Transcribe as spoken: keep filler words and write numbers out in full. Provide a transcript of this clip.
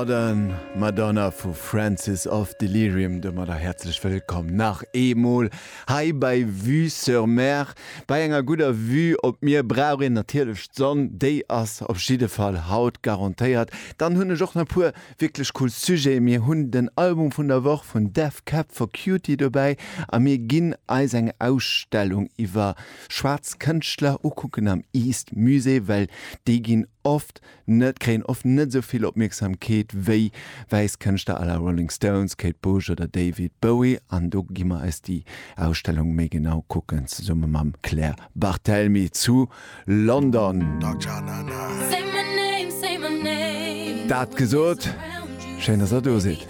Modern Madonna vu Francis of Delirium. Domadder häerzlech wëllkomm nach eemol hei bei Vue sur Mer. Bei enger gudder Vue op d'Mier brauch een natierlech d'Sonn, déi ass op jidde Fall haut garantéiert. Dann hunn ech och nach e puer wierklech cool Sujeten. Mir hunn den Album vun der Woch vun Death Cab for Cutie dobäi a mir ginn eis eng Ausstellung iwwer schwaarz Kënschtler ukucken am East Musée, well déi ginn oft net, kréien oft net esou vill Opmierksamkeet wéi wäiss Kënschtler à la Rolling Stones, Kate Bush oder David Bowie. An do gi mer eis déi Ausstellung méi genau kucken, zesumme mam Claire Barthelmy zu London. Dat gesot, schéin, dass der do sidd.